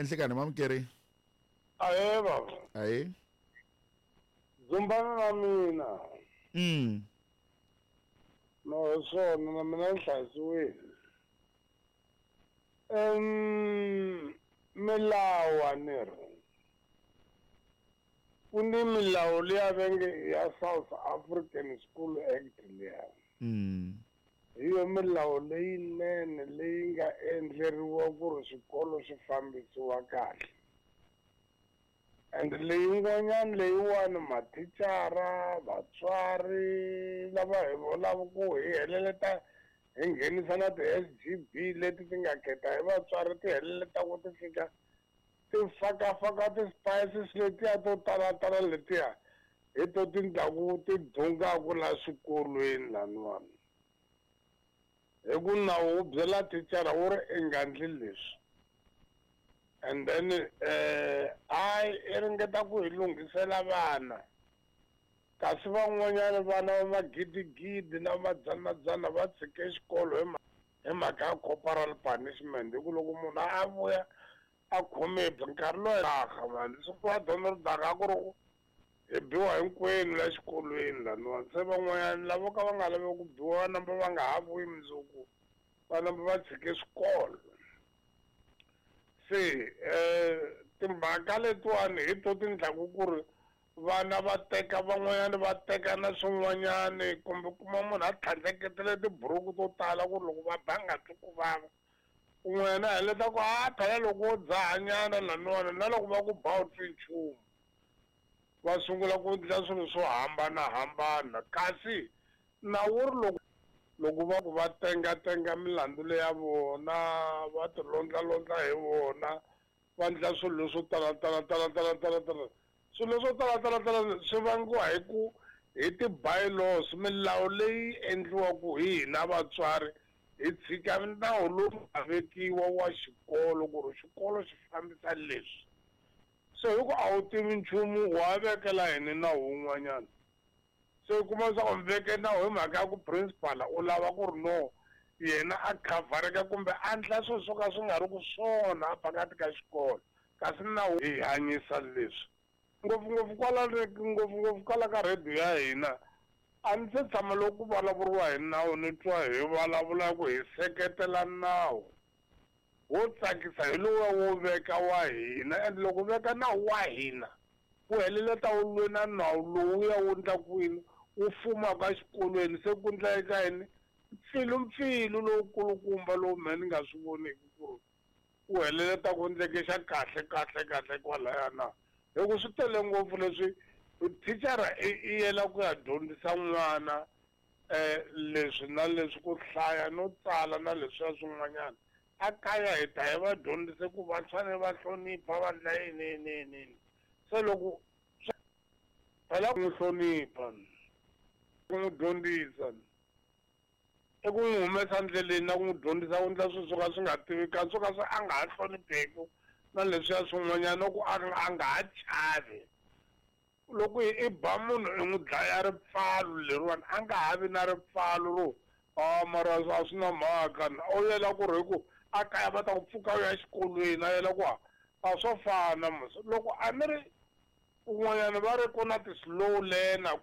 Enhlekani mamukeri. Ahee baba. Ahee. Zumbana na mina. No hi swona na mina ni hlayisiwile. Milawu a ni ri ku ni milawu liya va nge ya South African School Act liya. Hi yo milawu leyinene leyi nga endleriwa ku ri swikolo swi fambisiwa kahle. And leyin'wanyana leyiwani mathicara, vatswari lava hi vulaka ku hi heleleta hi nghenisa na ti-S_G_B leti ti nga khetha hi vatswari ti heleleta ku ti fika ti fakafaka ti-spices letiya to talatala letiya hi to ti ndlaku ti dungaku la swikolweni laniwani. Hi ku nawu wu byela thicara wu ri i nga ndli leswi. And then hayi i ringeta ku hi lunghisela vana. Kasi van'wanyana vana va magidigidi na madzanadzana va tshike xikolo hi mhaka ya corporal punishment. Hi ku loko munhu a vuya a khome nkarhi lowu daha mani siku va dyondza ri daha ku ri hi biwa hinkwenu la xikolweni laniwani. Se van'wanyana lavo ka va nga lavi ku biwa va namba va nga ha vuyi mundzuku va namba va tshike swikolo. Se timhaka letiwani hi to ti ndlaku ku ri vana va teka van'wanyana va teka na swin'wanyani kumbe kuma munhu a tlhandleketele tiburuku to tala ku ri loko va ba nga twi ku vava. Un'wanyana a heleta ku a phela loko wo dzahanyana laniwani na loko va ku ba u twi nchumu. Va sungula ku endla swilo swo hambanahambana kasi nawu wu ri loko va ku va tengatenga milandzu leya vona va ti londlalondla hi vona va endla swilo leswo tala tala tala tala tala tala swilo leswo tala tala tala swi vangiwa hi ku hi ti-bylaws milawu leyi endliwaka hi hina vatswari hi tshika nawu lowu nga vekiwa wa xikolo ku ri xikolo xi fambisa leswi. Se hi ku a wu tivi nchumu wa vekela yini nawu wun'wanyana. Se u kuma leswaku mi veke nawu hi mhaka ya ku principal u lava ku ri no yena a khavhareka kumbe a endla swilo swo ka swi nga ri ku swona phakathi ka xikolo kasi nawu hi hanyisa leswi. Ngopfungopfu kwala ngopfungopfu kwala ka radio ya hina a ni se tshama loko ku vulavuriwa hi nawu ni twa hi vulavula ku hi seketela nawu. Wo tsakisa hi lowuya wo veka wa hina and loko veka nawu wa hina wu heleleta wu lwe na nawu lowuya wu endlaku yini wu fumaka exikolweni se ku endleka yini mpfilumpfilu lowukulukumba lowu mehe ni nga swi voniki ku ri wu heleleta ku endleke xa kahle kahle kahle kwalaya na. Hi ku swi tele ngopfu leswi thicara i yela ku ya dyondzisa n'wana leswi na leswi ku hlaya no tsala na leswiya swin'wanyana. A kaya hi ta hi va dyondzise ku va fanele va hlonipha va endla yini yini yini yini. Se loko phela ku n'wi hlonipha ku n'wi dyondzisa i ku n'wi humesa ndleleni na ku n'wi dyondzisa ku endla swilo swo ka swi nga tiveki swo ka swi a nga ha hlonipheki na leswiya swin'wanyana ku a nga ha chavi. Loko i ba munhu i n'wi dlaya ripfalo leriwani a nga ha vi na ripfalo ro a mara a swi na mhaka u yela ku ri hi ku a kaya va ta ku pfuka u ya exikolweni a yela ku a swo fana mos. Loko a ni ri kun'wanyana va ri ku na ti-slow learner.